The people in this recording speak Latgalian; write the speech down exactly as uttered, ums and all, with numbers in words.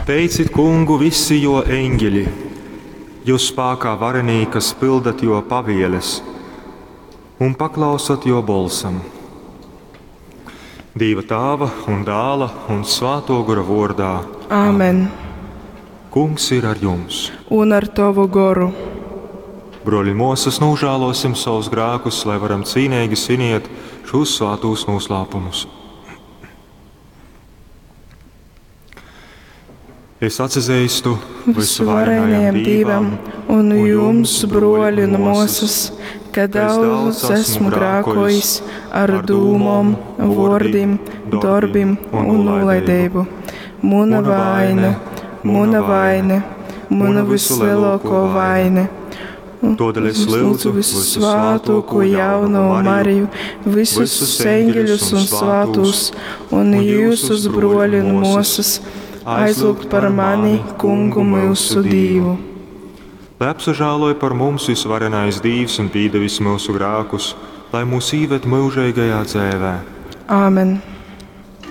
Teicit Kungu visi jō eņģeļi, jyus spākā varenī, kas pyldat jō pavieles un paklausat jō bolsam. Dīva Tāva un Dāla un Svātō Gora vōrdā. Āmen. Kungs ir ar jums. Un ar tovu goru. Brōļi un mōsas, nūžālōsim savus grākus, lai varam cīneigi sviniet šos svātūs noslēpumus. Es atsazeistu Visuvarenajam Dīvam un jums, bruoļi un muosys, ka daudz esmu grākojis ar dūmom, vuordim, dorbim un nūlaideibu. Muna vaine, muna vaine, muna vislielāko vaine. Todēļ es lūdzu visu svētāko jauno Mariju, visus eņģeļus un svētos, un jūsus bruoļi un muosas, aizlūgt par mani, Kungu mūsu Dīvu. Lai apsažāloj par mums visvarenais Dīvs un pīdevis mūsu grākus, lai mūs īved mūžīgajā dzēvē. Āmen.